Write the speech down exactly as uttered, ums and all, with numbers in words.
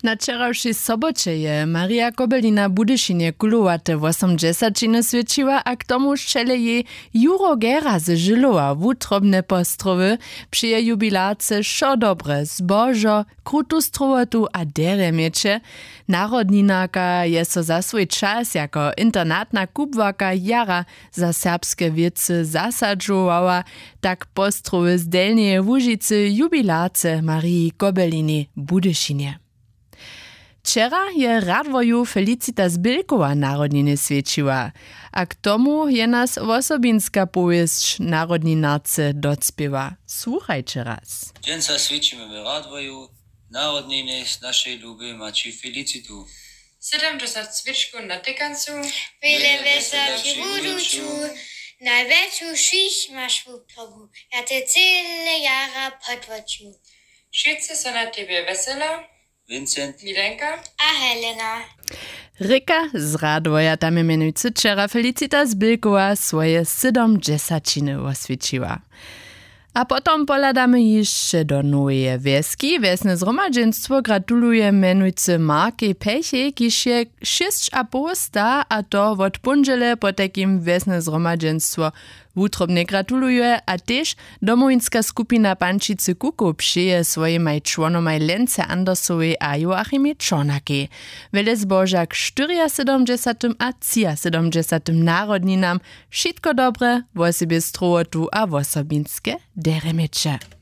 Na wčerawšej soboće je Marija Kobelina w Budyšinje kulowate wosomdźesaćiny swětšiła a k tomu sćelej jej Juro Gera z Žylowa wutrobne postrowy. Při jej jubilarce wšo dobre, zbožo, krutu strowotu a derje měće. Narodninarka je so za swój čas jako internatna kubłarka jara za serbske wěcy zasadźowała, tak postrowy z Delnjeje Łužicy jubilarce Mariji Kobelini w Budyšinje. Wčera je Radworju Felicita Zbylkowa narodniny swjećiła, a k tomu je nas wosobinska powěsć narodninarce docpěła. Słuchajće raz. Dźensa swjećimy w Radworju narodniny z našej lubej maći Felicitu. Sydomdźesat swěčkow na tykancu. Wjele wjesela při wuduću. Najwjetšu wšěch maš wutobu. Ja te cyle jara podwoću. Wšitcy so na tebje wjesela. Vincent, Milenka a Helena. Rěka z Radworja, tam je mjenujcy wčera Felicita Zbylkowa swoje sydomdźesaćiny woswjećiła. A potom pohladamy hišće do Noweje Wjeski. Wjesne zhromadźenstwo gratuluje mjenujcy Markej Pechej, kiž je šěsć a poł sta, a to wot póndźele. Potajkim wjesne zhromadźenstwo wutrobnje gratuluje a tež domowinska skupina Pančicy Kukow přeje swojimaj čłonomaj Lence Andersowej a Joachimej Čornakej wjele zboža k štyriasydomdźesatym a třiasydomdźesatym narodninam. Wšitko dobre, wosebje strowotu a wosobinske derje měće.